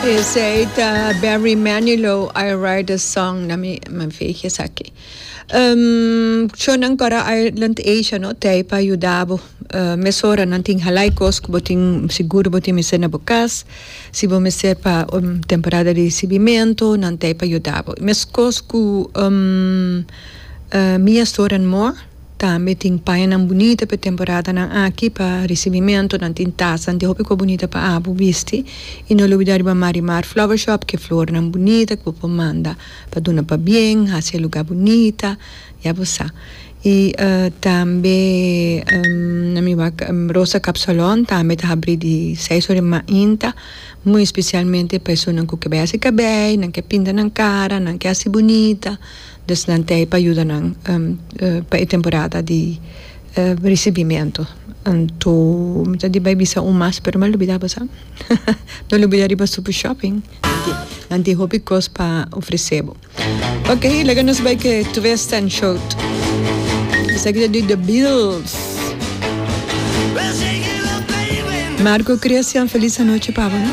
Esei ta Barry Manilow, I Write a Song, na mi veeg esaki. Shownan kora Island Asia no t'ei pa yuda bo. Mesora nan tin halai kos ku bo tin sigur bo tin mester na bo kas. Si bo mester pa un temporada di risibimentu nan t'ei pa yuda bo. Meskos ku Mia Store and More. Tambe tin pañanan bunita pa e temporadanan aki pa risibimentu. Nan tin tasnan di hopi kos bunita pa abo bisti. I no lubida riba Marimar Flower Shop ku e flornan bunita ku bo por manda pa duna pabien, hasi e lugá bunita, ya bo sa. I tambe na mi wak Rosa Kapsalon tambe ta habrí di seis ora di mainta, muy spesialmente pa esunnan ku ke bai hasi kabei, nan ke pinta nan kara, nan ke hasi bunita. Dus nan t'ei pa yuda nan pa e temporada di risibimentu. Anto mi ta di bai bisa un mas pero mi a lubida bo sa. No lubida riba Super Shopping. Nan tin hopi kos pa ofresé bo. Ok, laga nos bai ku e twist and shout. Esaki ta di The Beatles. Marco Christian, felis anochi pa bo no.